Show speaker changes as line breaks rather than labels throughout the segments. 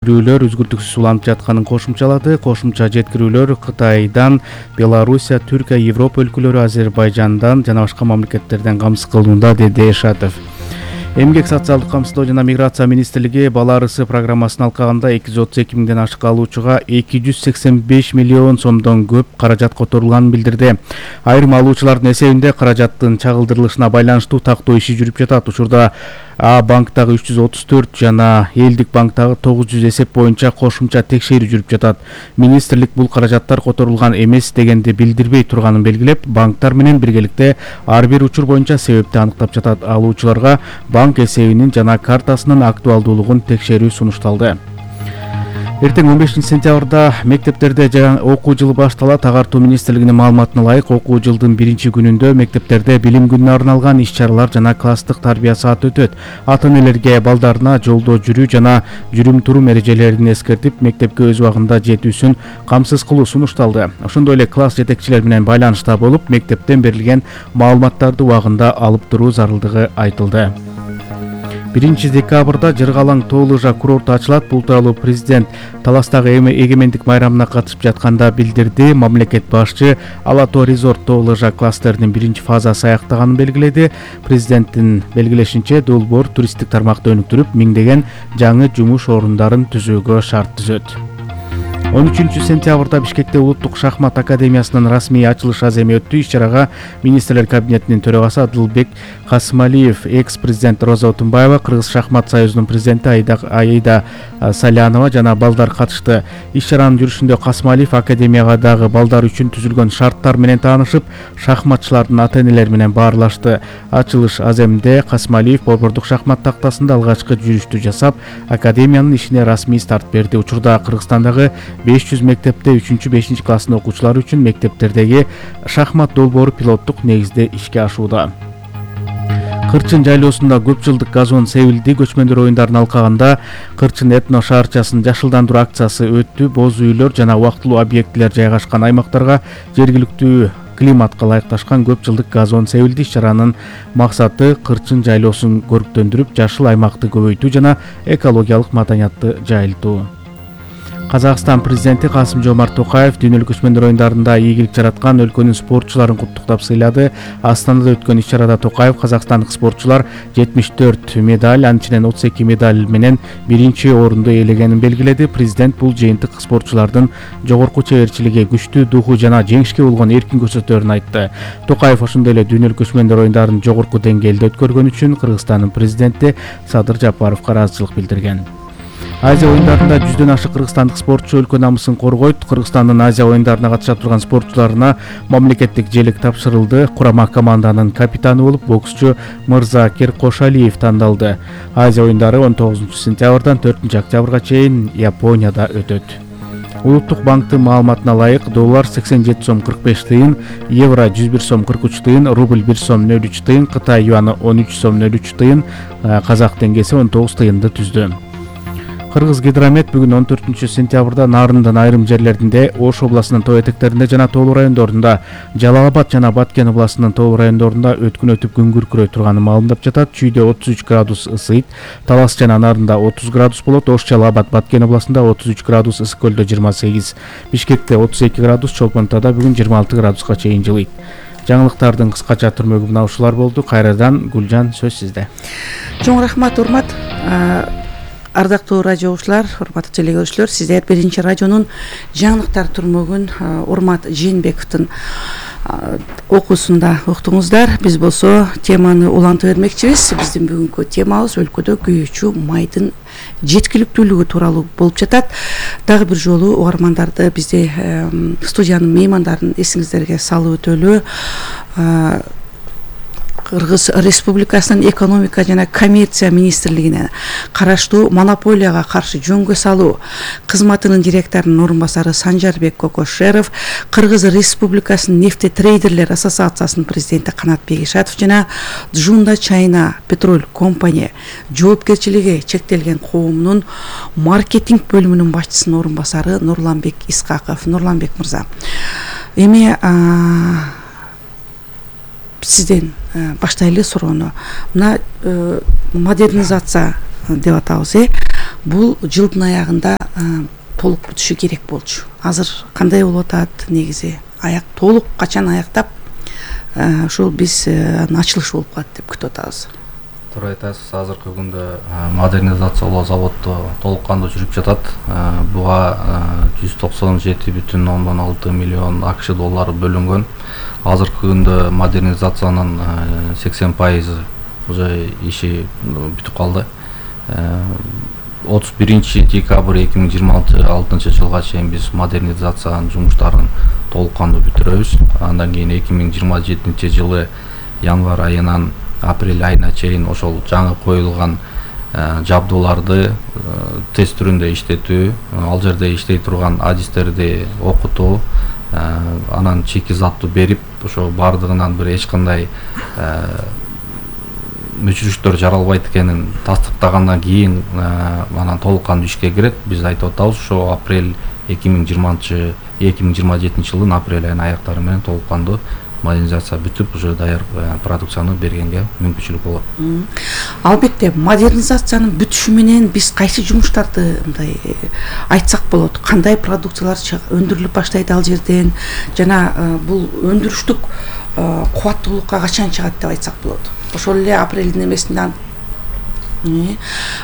жеткирүүлөр үзгүлтүксүз уланып жатканын кошумчалады. Кошумча жеткирүүлөр Кытайдан, Белоруссия, Түркия, Европа өлкөлөрү, Азербайжандан жана башка мамлекеттерден камсыз кылынууда, деди Эшатов. Эмгек социалдык камсыздоо жана миграция министрлиги бала арысы программасын алкаганда 232 миңден ашык алуучуга 285 миллион сомдон көп каражат которулганын билдирди. Айрым алуучулардын эсебинде каражаттын чагылдырылышына байланыштуу тактоо иши жүрүп жатат. Учурда А банктагы 334 жана элдик банктагы 900 эсеп боюнча кошумча текшерүү жүрүп жатат. Министрлик бул каражаттар которулган эмес дегенди билдирбей турганын белгилеп, банктар менен биргеликте ар бир учур боюнча себепти аныктап жатат. Алуучуларга банк эсебинин жана картасынын актуалдуулугун текшерүү сунушталды. Эртең 15 сентябрда мектептерде жаңы окуу жылы башталат. Агартуу министрлигинин маалыматына ылайык, окуу жылдын биринчи күнүндө мектептерде билим күнүнө арналган иш-чаралар жана класстык тарбия сааты өтөт. Ата-энелерге балдарына жолдо жүрүү жана жүрүм-турум эрежелерин эскертип, мектепке өз убагында жетүүсүн камсыз кылуу сунушталды. Ошондой эле класс жетекчилери менен байланышта болуп, мектептен берилген маалыматтарды убагында алып туруу зарылдыгы айтылды. 1 декабрда Жыргалаң тоо лыжа курорту ачылат. Бул тууралуу президент Таластагы эгемендик майрамына катышып жатканда билдирди. Мамлекет башчы Ала Тоо резорт тоо лыжа кластеринин биринчи фазасы аяктаганын белгиледи. Президенттин белгилешинче, долбоор туристтик тармакты өнүктүрүп, миңдеген жаңы жумуш орундарын түзүүгө шарт түзөт. 13 сентябрда Бишкекте Улуттук шахмат академиясынын расмий ачылыш аземи өттү. Иш-чарага министрлер кабинетинин төрагасы Адылбек Касымалиев, экс-президент Роза Отунбаева, Кыргыз шахмат союзунун президенти Аида Салянова жана балдар катышты. Иш-чаранын жүрүшүндө Касымалиев академияга дагы балдар үчүн түзүлгөн шарттар менен таанышып, шахматчылардын ата-энелери менен баарлашты. Ачылыш аземинде Касымалиев борбордук шахмат тактасында алгачкы жүрүштү жасап, академиянын ишине расмий старт берди. Учурда Кыргызстандагы 500 мектепте 3-5 класстын окуучулары үчүн мектептердеги шахмат долбоору пилоттук негизде ишке ашууда. Кырчын жайлоосунда көп жылдык газон себилди. Көчмөндөр оюндарын алкаганда Кырчын этно шаарчасын жашылдандыруу акциясы өттү. Боз үйлөр жана убактылуу объектилер жайгашкан аймактарга жергиликтүү климатка ылайыкташкан көп жылдык газон себилди. Иш-чаранын максаты Кырчын жайлоосун көрктөндүрүп, жашыл аймакты көбөйтүү жана экологиялык маданиятты жайылтуу. Казакстан президенти Касым-Жомарт Токаев дүйнөлүк көчмөндөр оюндарында ийгилик жараткан өлкөнүн спортчуларын куттуктап сыйлады. Астанада өткөн иш-чарада Токаев казакстандык спортчулар 74 медаль, анын ичинен 32 медаль менен биринчи орунду ээлегенин белгиледи. Президент бул жыйынтык спортчулардын жогорку чеберчилиги, күчтүү духу жана жеңишке болгон эркин көрсөтөөрүн айтты. Токаев ошондой эле дүйнөлүк көчмөндөр оюндарын жогорку деңгээлде өткөргөн үчүн Кыргызстандын президенти Садыр Жапаровго ыраазычылык билдирген. Азия оюндарында 100дөн ашык кыргызстандык спортчу өлкө намысын коргойт. Кыргызстандын Азия оюндарына катыша турган спортчуларына мамлекеттик желек тапшырылды. Курама команданын капитаны болуп боксчу Мырзакер Кошалиев тандалды. Азия оюндары 19 сентябрдан 4 октябрга чейин Японияда өтөт. Улуттук банктын маалыматына ылайык, доллар 87 сом 45 тыйын, евро 101 сом 43 тыйын, рубль 1 сом 03 тыйын, Кытай юаны 13 сом 03 тыйын, казак теңгеси 19 тыйынды түздү. Кыргыз гидромет бүгүн 14 сентябрда Нарындын айрым жерлеринде, Ош областынын тоо этектеринде жана тоолуу райондорунда, Жалал Абад жана Баткен областынын тоолуу райондорунда өткүн өтүп күн күркүрөй турганын маалымдап жатат. Чүйдө 33 градус ысыйт, Талас жана Нарында 30 градус болот. Ош, Жалал Абад, Баткен областында 33 градус, Ысык көлдө 28, Бишкекте 32 градус, Чолпонтада бүгүн 26 градуска чейин жылыйт. Жаңылыктардын кыскача түрмөгү мына ушулар болду. Кайрадан Гүлжан, сөз сизде.
Чоң рахмат, урмат. Ардактуу радио угуучулар, урматтуу телегөрүүчүлөр, сиздер биринчи радионун жаңылыктар түрмөгүн Урмат Жээнбековдун окуусунда уктуңуздар. Биз болсо теманы улантып бермекчибиз. Биздин бүгүнкү темабыз өлкөдө күйүүчү майдын жеткиликтүүлүгү тууралуу болуп жатат. Дагы бир жолу угармандарды, бизде студиянын меймандарын эсиңиздерге салып өтөлү. Кыргыз Республикасынын экономика жана коммерция министрлигине караштуу монополияга каршы жөнгө салуу кызматынын директорунун орун басары Санжарбек Кокошеров, Кыргыз Республикасынын нефтетрейдерлер ассоциациясынын президенти Канатбек Ишатов жана Джунда Чайна Петроль компания жоопкерчилиги чектелген коомунун маркетинг бөлүмүнүн башчысынын орун басары Нурланбек Искаков. Нурланбек мырза, эми сизден баштайлы суроону. Мына модернизация деп атабыз. Бул жылдын аягында толук бүтүшү керек болчу. Азыр кандай болуп атат негизи? Аяк толук качан аяктап ушул биз ачылыш болуп калат деп күтүп атабыз.
Туура айтасыз. Азыркы күндө модернизациялоо заводу толук кандуу жүрүп жатат. Буга 197,6 миллион АКШ доллары бөлүнгөн. Азыркы күндө модернизациянын 80% уже иши бүтүп калды. 31 декабрь 2026 жылга чейин биз модернизациянын жумуштарын толук кандуу бүтүрөбүз. Андан кийин 2027 жылы январь айынан апрель айына чейин ошол жаңы коюлган жабдууларды тест түрүндө иштетүү, ал жерде иштей турган адистерди окутуу, анан чеки затту берип, ошо бардыгынан бир эч кандай мүчүрүштөр жаралбайт экенин тастыктагандан кийин анан толук кандуу ишке кирет. Биз айтып атабыз, ошо апрель 2027 жылдын апрель айынын аяктары менен толук кандуу модернизация бүтүп, уже даяр продукцияны бергенге мүмкүнчүлүк болот.
Албетте, модернизациянын бүтүшү менен биз кайсы жумуштарды мындай айтсак болот? Кандай продукциялар өндүрүлүп баштайт ал жерден? Жана бул өндүрүштүк кубаттуулукка качан чыгат деп айтсак болот? Ошол эле апрелдин эмесинен.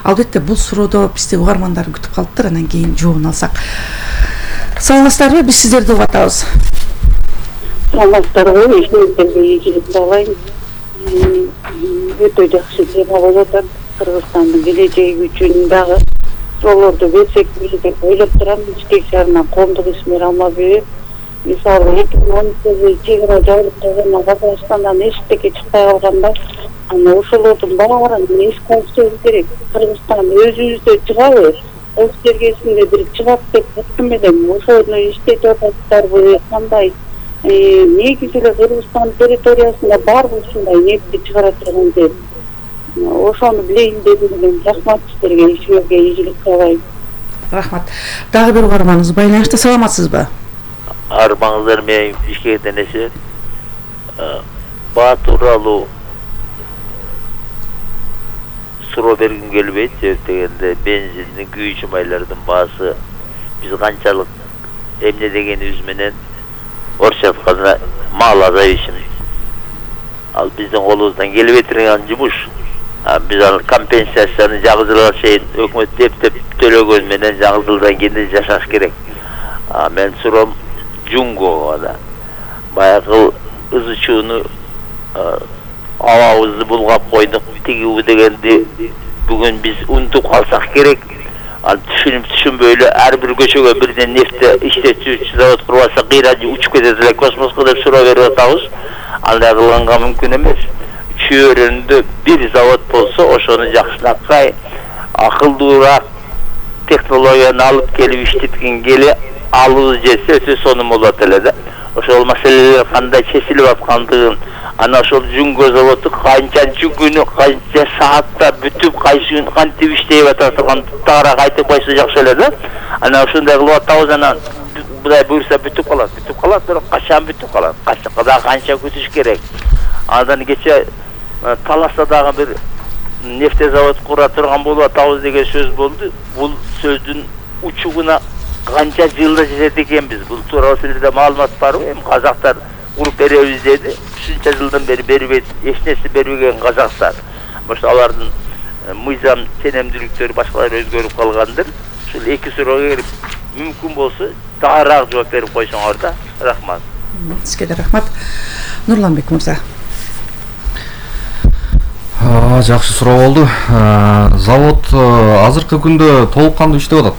Албетте, бул суроодо бизди угармандар күтүп калыптыр, анан кийин жообун алсак. Саламатсыздарбы? Биз сиздерди угуп атабыз.
Саламатсыздарбы? Ишиңиздерге ийгилик каалайм. Өтө жакшы тема болуп атат. Кыргызстандын келечеги үчүн дагы суроолорду берсек деп ойлоп турам. Бишкек шаарынан коомдук ишмер Алмабек. Мисалы 2010 чегара жабылып калгандан Казакстандан эчтеке чыкпай калганда, аны ошолордун баарын эске алышыбыз керек. Кыргызстан өзүбүздө чыгабы? Өз жергесинде бир чыгат деп күткөн менен ошону иштетип ататтарбы? Кандай? Негизи эле Кыргызстан территориясында барбы ушундай нефти чыгара турган жер? Ошону билейин дедим мен. Рахмат сиздерге, ишиңизге ийгилик каалайм.
Рахмат. Дагы бир угарманыбыз байланышта, саламатсызбы?
Армаңыздар менен Бишкектен эсеп. Баа тууралуу суроо бергим келбейт, себеп дегенде бензиндин, күйүүчү майлардын баасы биз канчалык эмне дегенибиз менен орусча айтканда малозависим. Ал биздин колубуздан келбей турган жумуш. Биз аны компенсацияны жаңы жылга чейин өкмөт деп төлөгөн менен жаңы жылдан кийин жашаш керек. Мен суроом Жунгого да. Баягы ызычууну абабызды булгап койдук, тиги дегенди бүгүн биз унутуп калсак керек. Ал түшүнбөй эле ар бир көчөгө бирден нефти иштетүүчү завод курбаса кыйрачы учуп кетет эле космоско деп суроо берип атабыз. Андай кылганга мүмкүн эмес. Чөйрөндө бир завод болсо, ошону жакшынакай акылдуураак технологияны алып келип иштеткен келе алуу жесе өтө сонун болот эле да. Ошол маселелер кандай чечилип аткандыгын, ана ошол Жунго заводу канчанчы күнү, канча саатта бүтүп, кантип иштеп атат тагыраак айтып койсо жакшы эле да. Ана ошондой кылып атабыз, анан Кудай буйрса бүтүп калат, бирок качан бүтүп калат? Канча күтүш керек? Андан кече Таласта дагы бир нефтезавод кура турган болуп атабыз деген сөз болду. Бул сөздүн учугуна канча жылда жетет экенбиз? Бул тууралуу силерде маалымат барбы? Эми казактар куруп беребиз деди. Ушунча жылдан бери бербейт, эч нерсе бербеген казактар. Ошо алардын мыйзам ченемдүүлүктөрү башкалар өзгөрүп калгандыр. Ушул эки суроого келип мүмкүн болсо дагыраак жооп берип койсоңор да. Рахмат.
Сизге да рахмат. Нурланбек мырза.
Жакшы суроо болду. Завод азыркы күндө толук кандуу иштеп атат.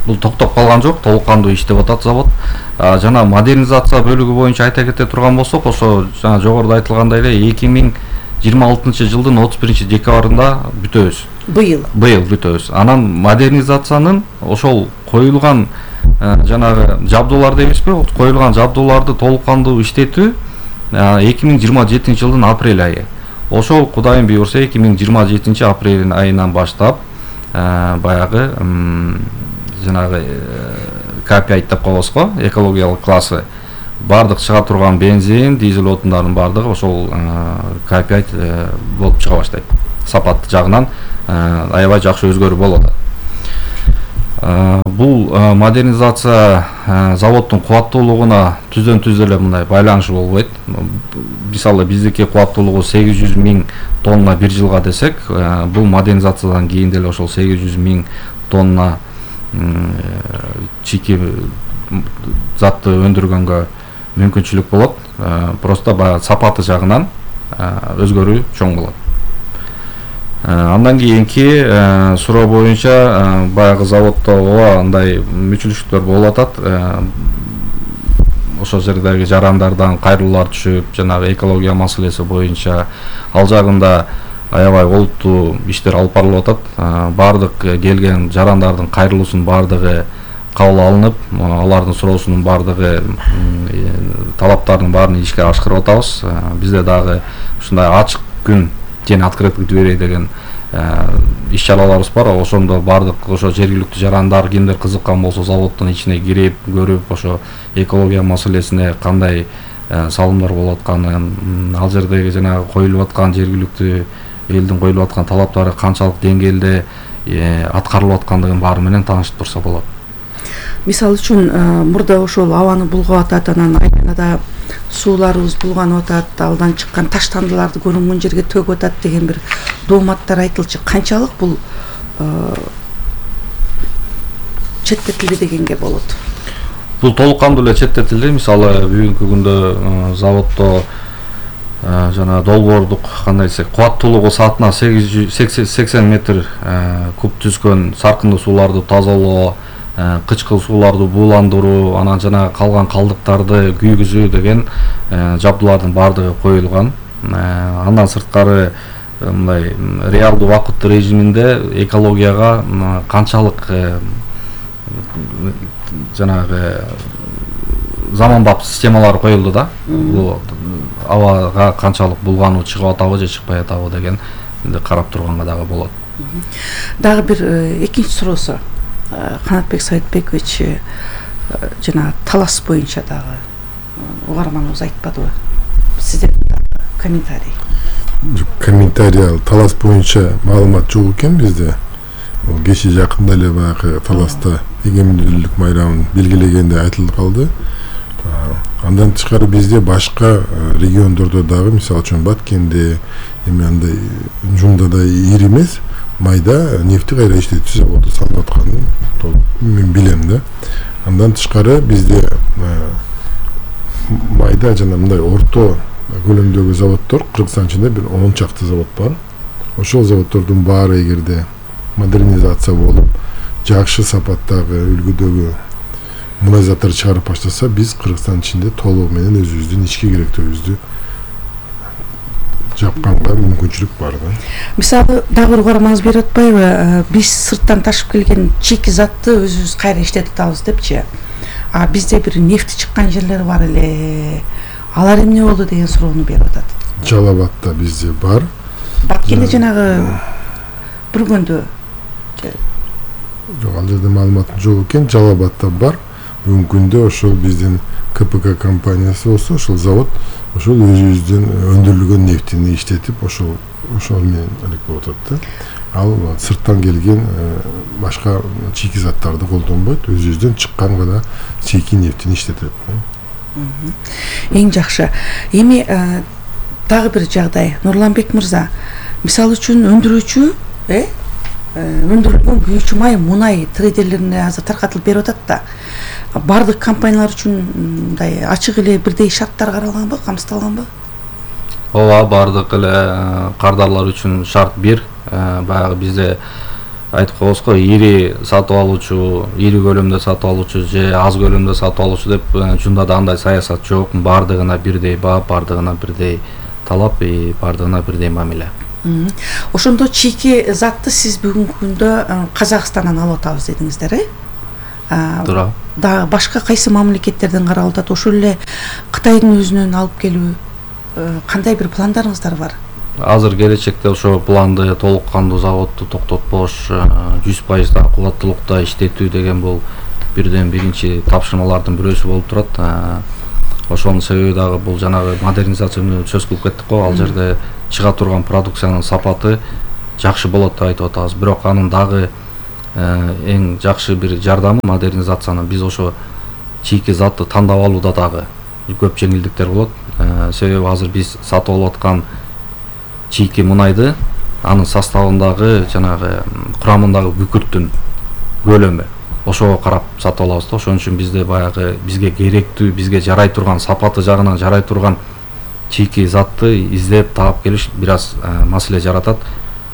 Бул токтоп калган жок, толук кандуу иштеп атат завод. Жана модернизация бөлүгү боюнча айта кете турган болсок, ошо жана жогоруда айтылгандай эле 2026 жылдын 31 декабрында бүтөбүз. Быйыл бүтөбүз. Анан модернизациянын ошол коюлган жанагы жабдуулар дейбизби? Коюлган жабдууларды толук кандуу иштетүү 2027 жылдын апрель айы. Ошол Кудайым буйрса 2027 апрель айынан баштап баягы жанагы К5 деп коебуз го, экологиялык классы бардык чыга турган бензин, дизель отундардын бардыгы ошол К5 болуп чыга баштайт. сапат жагынан аябай жакшы өзгөрүү болуп атат. Бул модернизация заводдун кубаттуулугуна түздөн түз эле мындай байланышы болбойт. Мисалы биздики кубаттуулугу 800 000 тонна бир жылга десек, бул модернизациядан кийин деле ошол 800 000 тонна чийки затты өндүргөнгө мүмкүнчүлүк болот. Просто баягы сапаты жагынан өзгөрүү чоң болот. Андан кийинки суроо боюнча баягы заводдо ооба андай мүчүлүштүктөр болуп атат. Ошол жердеги жарандардан кайрылуулар түшүп, жанагы экология маселеси боюнча ал жагында аябай олуттуу иштер алып барылып атат. Бардык келген жарандардын кайрылуусунун бардыгы кабыл алынып, алардын суроосунун бардыгы, талаптардын баарын ишке ашкырып атабыз. Бизде дагы ушундай ачык күн жана открыткий дверей деген иш-чараларыбыз бар. Ошондо бардык ошо жергиликтүү жарандар кимдер кызыккан болсо заводдун ичине кирип, көрүп, ошо экология маселесине кандай салымдар болуп атканын, ал жердеги жанагы коюлуп аткан жергиликтүү элдин коюлуп аткан талаптары канчалык деңгээлде аткарылып аткандыгын баары менен таанышып турса болот.
Мисалы үчүн мурда ошол абаны булгап атат, анан айланада сууларыбыз булганып атат, алдан чыккан таштандыларды көрүнгөн жерге төгүп атат деген бир дооматтар айтылчу. Канчалык бул четтетилди дегенге болот?
Бул толук кандуу эле четтетилди. Мисалы бүгүнкү күндө заводдо жана долбоордук кандай десек, кубаттуулугу саатына 80 метр куб түзгөн саркындуу сууларды тазалоо, кычкыл сууларды бууландыруу, анан жана калган калдыктарды күйгүзүү деген жабдуулардын бардыгы коюлган. Андан сырткары мындай реалдуу убакыт режиминде экологияга канчалык жанагы заманбап системалар коюлду да. Бул абага канчалык булгануу чыгып атабы же чыкпай атабы деген карап турганга дагы болот.
Дагы бир экинчи суроосу Канатбек Саитбекович жана талас боюнча дагы угарманыбыз айтпадыбы? Сиздердин комментарий.
Комментарий талас боюнча маалымат жок экен бизде. Кечээ жакында эле баягы таласта эгемендүүлүк майрамын белгилегенде айтылып калды. Андан тышкары бизде башка региондордо дагы, мисалы үчүн Баткенде, андай Жумда да ири эмес, майда нефти кайра иштетүү заводу салып атканын мен билем да. Андан тышкары бизде майда жана мындай орто көлөмдөгү заводдор Кыргызстан ичинде бир 10 чакты завод бар. Ошол заводдордун баары эгерде модернизация болуп, жакшы сапаттагы үлгүдөгү мунайзаттар чыгарып баштаса, биз Кыргызстан ичинде толугу менен өзүбүздүн ички керектөөбүздү жапканга мүмкүнчүлүк бар да.
Мисалы дагы угармаңыз берип атпайбы? Биз сырттан ташып келген чийки затты өзүбүз кайра иштетип атабыз депчи. Бизде бир нефти чыккан жерлер бар эле. Алар эмне болду деген суроону берип атат.
Жалал-Абадта бизде бар.
Баткенде жанагы бүргөндө
жок, ал жерде маалыматым жок экен. Жалал-Абадта бар. Бүгүнкү күндө ошол биздин КПК компаниясы болсо, ошол завод ошол өзүбүздүн өндүрүлгөн нефтини иштетип, ошол менен алек болуп атат да. Ал сырттан келген башка чийки заттарды колдонбойт, өзүбүздөн чыккан гана чийки нефтини иштетет.
Эң жакшы. Эми дагы бир жагдай, Нурланбек мырза, мисалы үчүн өндүрүүчү, өндүрүлгөн күйүүчү май мунай трейдерлерине азыр таркатылып берип атат да. Бардык компаниялар үчүн мындай ачык эле бирдей шарттар каралганбы, камсыздалганбы?
Ооба, бардык эле кардарлар үчүн шарт бир. Баягы бизде айтып коебузго, ири сатып алуучу, ири көлөмдө сатып алуучу же аз көлөмдө сатып алуучу деп жунда да андай саясат жок. Бардыгына бирдей баа, бардыгына бирдей талап, бардыгына бирдей мамиле.
Ошондо чийки затты сиз бүгүнкү күндө Казакстандан алып атабыз дедиңиздер,
Туура.
Да башка кайсы мамлекеттерден каралып атат? Ошол эле Кытайдын өзүнөн алып келүү кандай бир пландарыңыздар бар?
Азыр келечекте ошо планды толук кандуу заводду токтотпош, 100% кубаттуулукта иштетүү деген бул бирден биринчи тапшырмалардын бирөөсү болуп турат. Ошонун себеби дагы бул жанагы модернизацияны сөз кылып кеттик го. Ал жерде чыга турган продукциянын сапаты жакшы болот деп айтып атабыз. Бирок анын дагы эң жакшы бир жардамы модернизациянын биз ошо чийки затты тандап алууда дагы көп жеңилдиктер болот. Себеби азыр биз сатып алып аткан чийки мунайды анын составындагы жанагы курамындагы күкүрттүн көлөмү ошого карап сатып алабыз да. Ошон үчүн бизде баягы бизге керектүү, бизге жарай турган, сапаты жагынан жарай турган чийки затты издеп таап келиш бир аз маселе жаратат.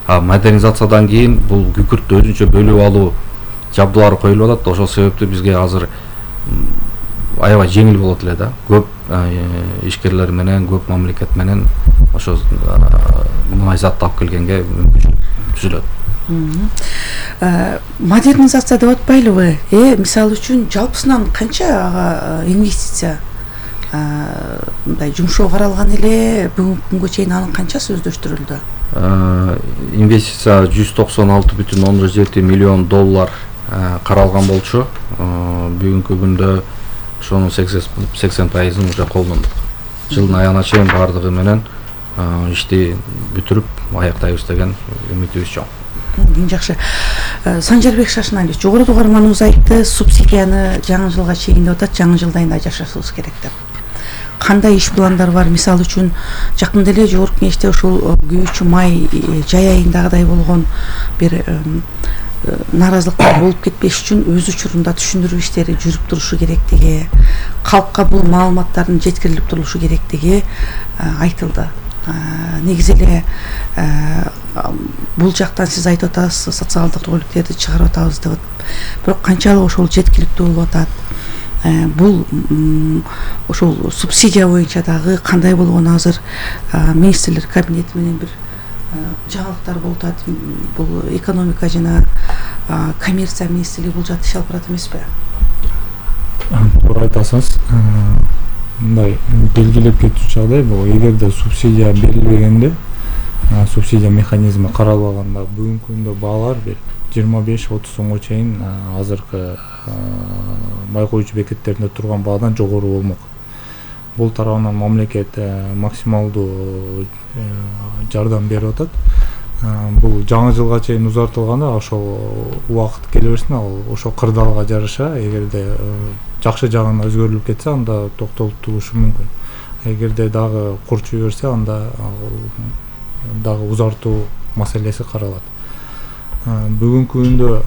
Модернизациядан кийин бул күкүрттү өзүнчө бөлүп алуу жабдуулары коюлуп атат. Ошол себептүү бизге азыр аябай жеңил болот эле да. Көп ишкерлер менен, көп мамлекет менен ошо мунай затты алып келгенге мүмкүнчүлүк түзүлөт.
Модернизация деп атпайлыбы? Мисалы үчүн жалпысынан канча инвестиция мындай жумшоо каралган эле, бүгүнкү күнгө чейин анын канчасы өздөштүрүлдү?
Инвестиция 196,7 миллион доллар каралган болчу. Бүгүнкү күндө ошонун 80%-ын уже колдондук. Жылдын аягына чейин бардыгы менен ишти бүтүрүп аяктайбыз деген үмүтүбүз чоң.
Жакшы. Санжарбек Шашыналиевич, жогоруда угарманыбыз айтты, субсидияны жаңы жылга чейин деп атат, жаңы жылда айында жашашыбыз керек деп. Кандай иш пландар бар? Мисалы үчүн жакында эле жогорку кеңеште ушул күйүүчү май жай айындагыдай болгон бир нааразылыктар болуп кетпеш үчүн өз учурунда түшүндүрүү иштери жүрүп турушу керектиги, калкка бул маалыматтардын жеткирилип турулушу керектиги айтылды. Негизи эле бул жактан сиз айтып атасыз, социалдык роликтерди чыгарып атабыз деп. Бирок канчалык ошол жеткиликтүү болуп атат? Бул ошол субсидия боюнча дагы кандай болгон азыр министрлер кабинети менен бир жаңылыктар болуп атат. Бул экономика жана коммерция министрлиги бул жакта иш алып барат эмеспи?
Туура айтасыз. Мындай белгилеп кетүүчү жагдай бул, эгерде субсидия берилбегенде, субсидия механизми каралбаганда бүгүнкү күндө баалар бир 25-30 сомго чейин азыркы май коюучу бекеттеринде турган баадан жогору болмок. Бул тарабынан мамлекет максималдуу жардам берип атат. Бул жаңы жылга чейин узартылганда ошол убакыт келе берсин, ал ошол кырдаалга жараша эгерде жакшы жагына өзгөрүлүп кетсе, анда токтотулушу мүмкүн. Эгерде дагы курчуй берсе, анда дагы узартуу маселеси каралат. Бүгүнкү күндө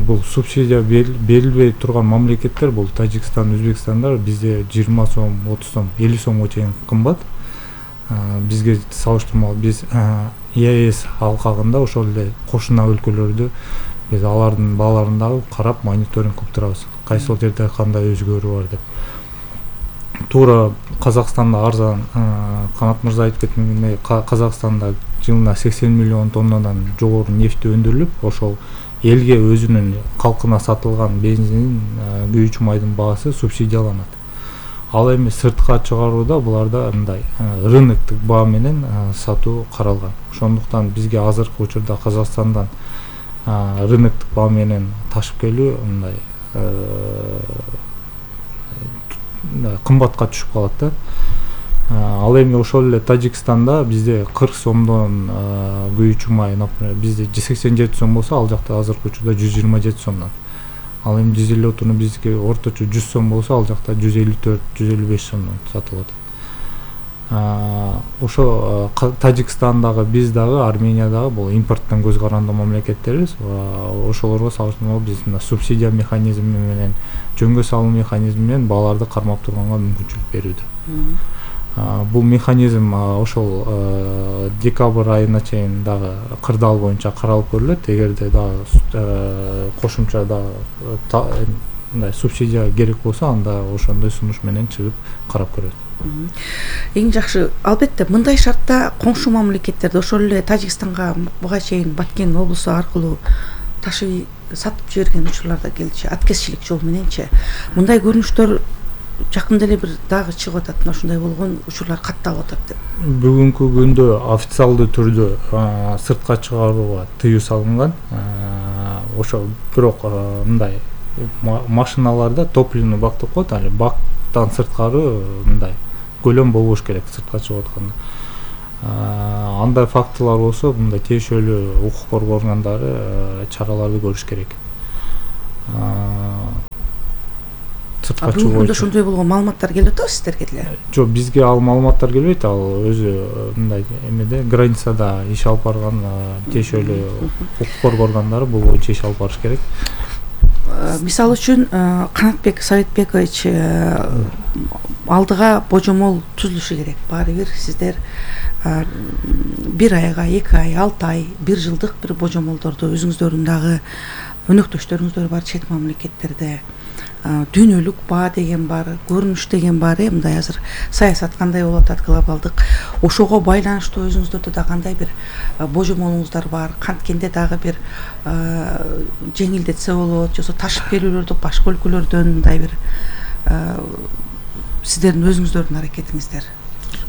бул субсидия берилбей турган мамлекеттер бул Тажикстан, Өзбекстандар бизде 20 сом, 30 сом, 50 сомго чейин кымбат. Бизге салыштырмалуу биз ЕАЭС алкагында ошол эле кошуна өлкөлөрдү биз алардын бааларын дагы карап мониторинг кылып турабыз. Кайсыл жерде кандай өзгөрүү бар деп. Туура Казакстанда арзан, Канат мырза айтып кеткендей, Казакстанда жылына 80 миллион тоннадан жогору нефти өндүрүлүп, ошол элге өзүнүн калкына сатылган бензин, күйүүчү майдын баасы субсидияланат. Ал эми сыртка чыгарууда буларда мындай рыноктук баа менен сатуу каралган. Ошондуктан бизге азыркы учурда Казакстандан рыноктук баа менен ташып келүү мындай кымбатка түшүп калат да. Ал эми ошол эле Тажикстанда бизде 40 сомдон күйүүчү май, например, бизде 87 сом болсо, ал жакта азыркы учурда 127 сомдон. Ал эми 150 отуну бизге орточо 100 сом болсо, ал жакта 154-155 сомдон сатылат. Ошо Тажикстандагы, биз дагы, Армения дагы бул импорттон көз карандуу мамлекеттербиз. Ошолорго салыштырмалуу биз мына субсидия механизми менен, жөнгө салуу механизми менен бааларды кармап турганга мүмкүнчүлүк берүүдө. Бул механизм ошол декабрь айына чейин дагы кырдаал боюнча каралып көрүлөт. Эгерде дагы кошумча дагы мындай субсидия керек болсо, анда ошондой сунуш менен чыгып карап көрөт.
Эң жакшы, албетте мындай шартта коңшу мамлекеттерде, ошол эле Тажикстанга буга чейин Баткен облусу аркылуу ташып сатып жиберген учурларда келчи, аткезчилик жол мененчи. Мындай көрүнүштөр жакында эле бир дагы чыгып атат, мына ушундай болгон учурлар катталып атат деп.
Бүгүнкү күндө официалдуу түрдө сыртка чыгарууга тыюу салынган. Ошо бирок мындай машиналарда топливный бак деп коет, али бактан сырткары мындай көлөм болбош керек сыртка чыгып атканда. Андай фактылар болсо мындай тиешелүү укук коргоо органдары чараларды көрүш керек.
Бүгүнкү күндө ошондой болгон маалыматтар келип атабы сиздерге деле?
Жок, бизге ал маалыматтар келбейт. Ал өзү мындай эмеде границада иш алып барган тиешелүү укук коргоо органдары бул боюнча иш алып барыш керек.
Мисалы үчүн Канатбек Советбекович алдыга божомол түзүлүшү керек. Баары бир сиздер 1 айга, 2 ай, 6 ай, 1 жылдык бир божомолдорду өзүңүздөрдүн дагы өнөктөштөрүңүздөр бар чет мамлекеттерде дүйнөлүк баа деген бар, көрүнүш деген бар. Мындай азыр саясат кандай болуп атат глобалдык. Ошого байланыштуу өзүңүздөрдө да кандай бир божомолуңуздар бар? Канткенде дагы бир жеңилдетсе болот, жосо ташып келүүлөрдү башка өлкөлөрдөн мындай бир сиздердин өзүңүздөрдүн аракетиңиздер.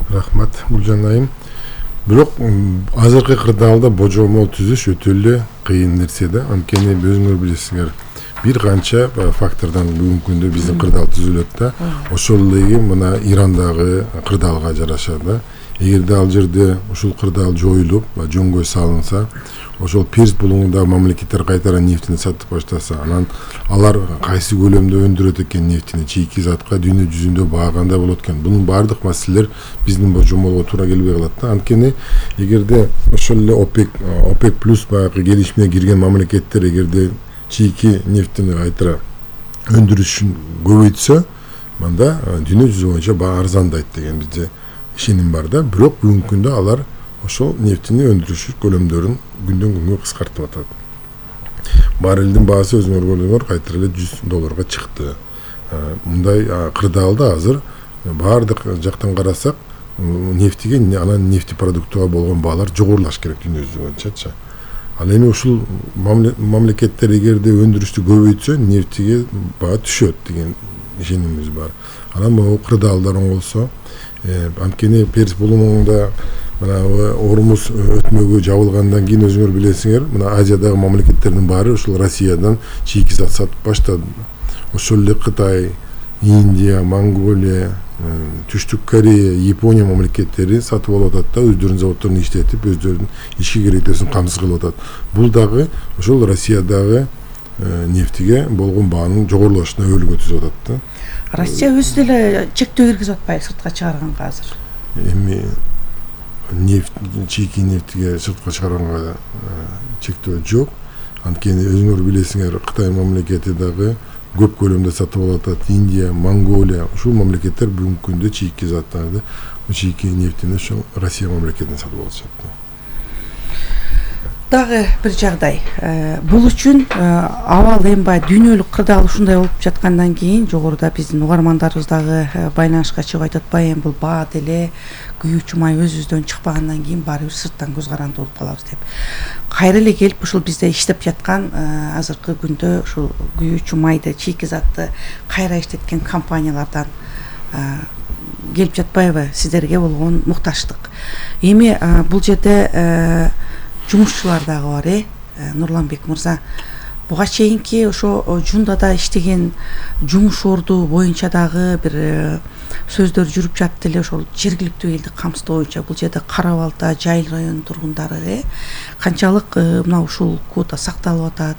Рахмат Гүлжан айым. Бирок азыркы кырдаалда божомол түзүш өтө эле кыйын нерсе да. Анткени өзүңөр билесиңер, бир канча фактордон бүгүнкү күндө биздин кырдаал түзүлөт да. Ошол эле мына Ирандагы кырдаалга жараша да. Эгерде ал жерде ушул кырдаал жоюлуп, жөнгө салынса, ошол Перс булуңундагы мамлекеттер кайтара нефтини сатып баштаса, анан алар кайсы көлөмдө өндүрөт экен нефтини, чийки затка дүйнө жүзүндө баа кандай болот экен. Бунун баардык маселелер биздин божомолго туура келбей калат да. Анткени эгерде ошол эле ОПЕК плюс баягы келишимге кирген мамлекеттер эгерде чийки нефтини кайтара өндүрүшүн көбөйтсө, мында дүйнө жүзү боюнча баа арзандайт деген бизде ишеним бар да. Бирок бүгүнкү күндө алар ошол нефтини өндүрүш көлөмдөрүн күндөн күнгө кыскартып атат. Баррелдин баасы өзүңөр көрдүңөр кайтара эле $100 чыкты. Мындай кырдаалда азыр баардык жактан карасак, нефтиге анан нефти продуктуга болгон баалар жогорулаш керек дүйнө жүзү боюнчачы. Ал эми ушул мамлекеттер эгерде өндүрүштү көбөйтсө, нефтиге баа түшөт деген ишенимибиз бар. Анан могу кырдаалдар оңолсо, анткени Перс булуңунда мына Ормуз өтмөгү жабылгандан кийин өзүңөр билесиңер, мына Азиядагы мамлекеттердин баары ушул Россиядан чийки зат сатып баштады. Ошол эле Кытай, Индия, Монголия, Түштүк Корея, Япония мамлекеттери сатып алып атат да, өздөрүнүн заводдорун иштетип, өздөрүнүн ички керектөөсүн камсыз кылып атат. Бул дагы ошол Россиядагы нефтиге болгон баанын жогорулашына өбөлгө түзүп атат да.
Россия өзү деле чектөө киргизип атпайбы сыртка чыгарганга азыр?
Эми чийки нефтиге сыртка чыгарганга чектөө жок. Анткени өзүңөр билесиңер, Кытай мамлекети дагы көп көлөмдө сатып алып атат. Индия, Монголия, ушул мамлекеттер бүгүнкү күндө чийки заттарды, чийки нефтини ошол Россия мамлекетинен сатып алышат.
Дагы бир жагдай. Бул үчүн абал эмбай дүйнөлүк кырдаал ушундай болуп жаткандан кийин жогоруда биздин угармандарыбыз дагы байланышка чыгып айтып атпайбы, эми бул баа деле күйүүчү май өзүбүздөн чыкпагандан кийин баары бир сырттан көз каранды болуп калабыз деп. Кайра эле келип ушул бизде иштеп жаткан азыркы күндө ушул күйүүчү майды, чийки затты кайра иштеткен компаниялардан келип жатпайбы сиздерге болгон мукташтык? Эми бул жерде жумушчулар дагы бар, Нурланбек мырза. Буга чейинки ошо Жундада иштеген жумуш орду боюнча дагы бир сөздөр жүрүп жатты эле, ошол жергиликтүү элди камсыздоо боюнча. Бул жерде Кара Балта, Жайыл районунун тургундары канчалык мына ушул квота сакталып атат.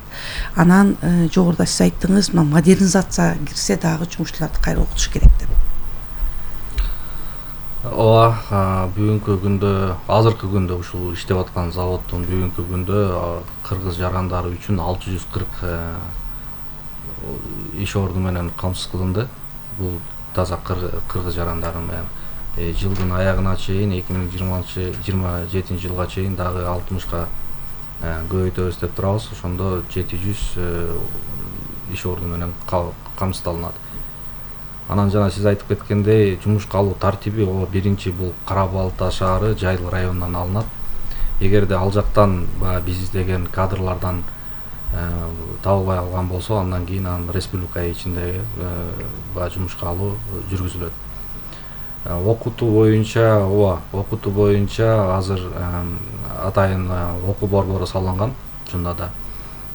Анан жогоруда сиз айттыңыз, мына модернизация кирсе дагы жумушчуларды кайра окутуш керек деп.
Ооба, бүгүнкү күндө, азыркы күндө ушул иштеп аткан заводдун бүгүнкү күндө кыргыз жарандары үчүн 640 иш орду менен камсыз кылынды. Бул таза кыргыз жарандары менен жылдын аягына чейин 2027 жылга чейин дагы 60га көбөйтөбүз деп турабыз. Ошондо 700 иш орду менен камсыздалынат. Анан жана сиз айтып кеткендей, жумушка алуу тартиби биринчи бул Кара Балта шаары Жайыл районунан алынат. Эгерде ал жактан биз издеген кадрлардан табылбай калган болсо, андан кийин республика ичиндеги жумушка алуу жүргүзүлөт. Окутуу боюнча азыр атайын окуу борбору салынган Жундада.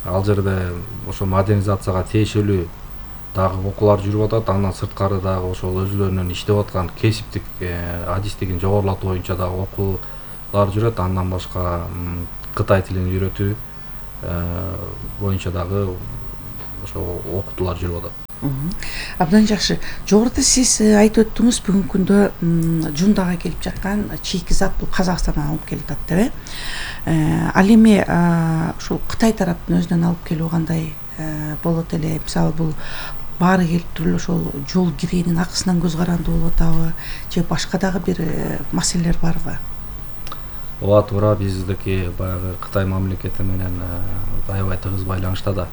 Ал жерде ошо модернизацияга тиешелүү дагы окуулар жүрүп атат. Андан сырткары дагы ошол өзүлөрүнүн иштеп аткан кесиптик адистигин жогорулатуу боюнча дагы окуу жүрөт. Андан башка Кытай тилин үйрөтүү боюнча дагы ошо окутуулар жүрүп атат.
Абдан жакшы. Жогоруда сиз айтып өттүңүз, бүгүнкү күндө жундага келип жаткан чийки зат бул Казакстандан алып келип атат деп. Ал эми ушул Кытай тараптын өзүнөн алып келүү кандай болот эле? Мисалы бул баары келип туруп ошол жол киренин акысынан көз карандуу болуп атабы же башка дагы бир маселелер барбы?
Ооба, туура, биздики баягы Кытай мамлекети менен аябай тыгыз байланышта да.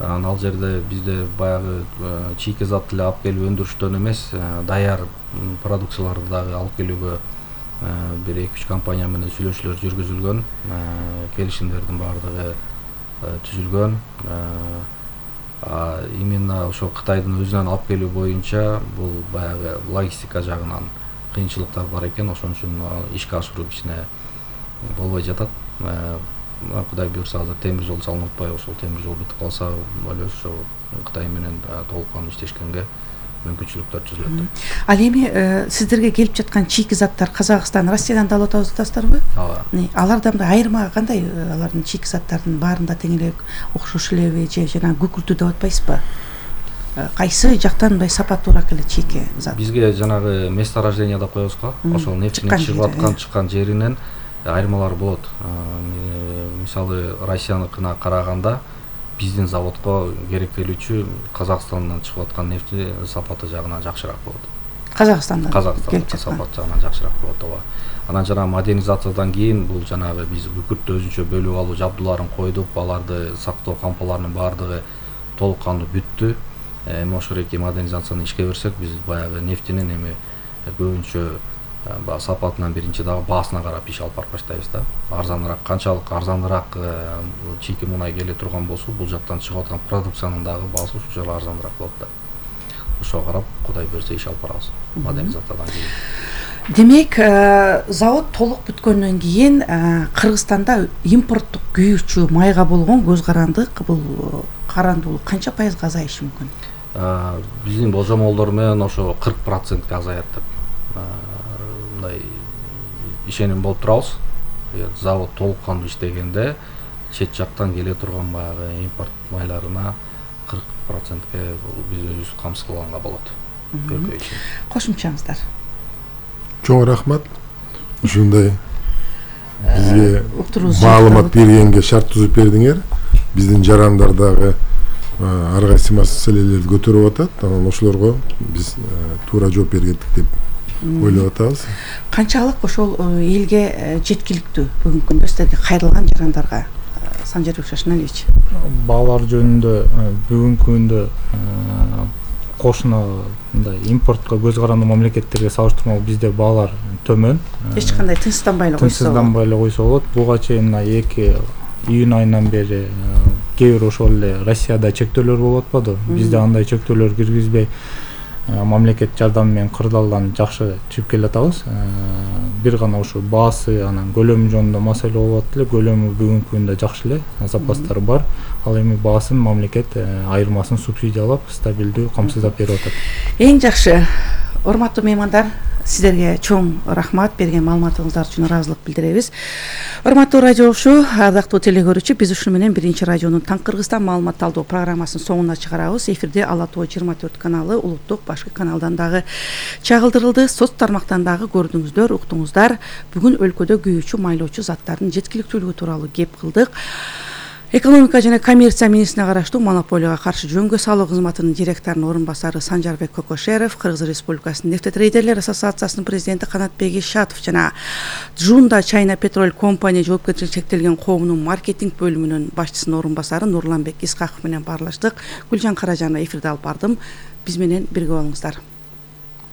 Ал жерде бизде баягы чийки зат эле алып келип өндүрүштөн эмес, даяр продукцияларды дагы алып келүүгө бир 2-3 компания менен сүйлөшүүлөр жүргүзүлгөн, келишимдердин баардыгы түзүлгөн. Именно ошо Кытайдын өзүнөн алып келүү боюнча бул баягы логистика жагынан кыйынчылыктар бар экен, ошон үчүн ишке ашыруу кичине болбой жатат. Кудай буюрса азыр темир жол салынып атпайбы, ошол темир жол бүтүп калса болобу ошо Кытай менен толук кандуу иштешкенге мүмкүнчүлүктөр түзүлөт.
Ал эми сиздерге келип жаткан чийки заттар Казакстан, Россиядан да алып атасыздарбы?
Ооба.
Алардан да айырма кандай? Алардын чийки заттардын баарында тең эле окшош элеби же жанагы күкүртүү деп атпайсызбы? Кайсы жактан мындай сапаттуураак эле чийки зат?
Бизге жанагы месторождение деп коебуз го, ошол нефтинин чыгып жеринен айырмалар болот. Мисалы Россияныкына караганда биздин заводко керектелүүчү Казакстандан чыгып аткан нефти сапаты жагынан жакшыраак болот.
Казакстандан
сапат жагынан жакшыраак болот. Ооба. Анан жана модернизациядан кийин бул жанагы биз күкүрттү өзүнчө бөлүп алуу жабдууларын койдук, аларды сактоо кампаларынын баардыгы толук кандуу бүттү. Эми ошол эки модернизацияны ишке берсек, биз баягы нефтинин эми көбүнчө сапатынан биринчи дагы баасына карап иш алып барып баштайбыз да. Арзаныраак, канчалык арзаныраак чийки мунай келе турган болсо, бул жактан чыгып аткан продукциянын дагы баасы ушунчалык арзаныраак болот да. Ошого карап, Кудай берсе иш алып барабыз модернизациядан кийин.
Демек, завод толук бүткөндөн кийин Кыргызстанда импорттук күйүүчү майга болгон көз карандык, бул карандуулук канча пайызга азайышы мүмкүн?
Биздин болжомолдор менен ошо 40%ке азаят деп мындай ишеним болуп турабыз. Завод толук кандуу иштегенде чет жактан келе турган баягы импорт майларына 40%ке биз өзүбүз камсыз кылганга болот.
Кошумчаңыздар.
Чоң рахмат. Ушундай бизге маалымат бергенге, шарт түзүп бердиңер. Биздин жарандар дагы ар кайсы маселелерди көтөрүп атат. Анан ошолорго биз туура жооп бергендик деп ойлоп атабыз.
Канчалык ошол элге жеткиликтүү бүгүнкү күндө сиздерге кайрылган жарандарга? Санжарбек Шашналевич.
Баалар жөнүндө бүгүнкү күндө кошуна мындай импортко көз карандуу мамлекеттерге салыштырмалуу бизде баалар төмөн.
Эч кандай тынчсызданбай
эле койсо болот. Буга чейин 2 июнь айынан бери кээ бир ошол эле Россияда чектөөлөр болуп атпады. Бизде андай чектөөлөр киргизбей мамлекет жардамы менен кырдаалдан жакшы чыгып келе атабыз. Бир гана ошо баасы анан көлөмү жөнүндө маселе болуп атты эле. Көлөмү бүгүнкү күндө жакшы эле, запастар бар. Ал эми баасын мамлекет айырмасын субсидиялап, стабилдүү камсыздап берип атат.
Эң жакшы. Урматтуу меймандар, сиздерге чоң рахмат, берген маалыматыңыздар үчүн ыраазылык билдиребиз. Урматтуу радио угуучу, ардактуу телекөрүүчү, биз ушуну менен биринчи радионун Таң Кыргызстан маалымат талдоо программасынын соңуна чыгарабыз. Эфирде Ала Тоо 24 каналы, улуттук башкы каналдан дагы чагылдырылды. Соц тармактан дагы көрдүңүздөр, уктуңуздар. Бүгүн өлкөдө күйүүчү, майлоочу заттардын жеткиликтүүлүгү тууралуу кеп кылдык. Экономика жана коммерция министрине караштуу монополияга каршы жөнгө салуу кызматынын директорунун орун басары Санжарбек Кокошеров, Кыргыз Республикасынын нефтетрейдерлер ассоциациясынын президенти Канатбек Ишатов жана Джунда China Petrol Company жоопкерчилиги чектелген коомунун маркетинг бөлүмүнүн башчысынын орун басары Нурланбек Искаков менен баарлаштык. Гүлжан Каражанова эфирде алып бардым. Биз менен бирге болуңуздар.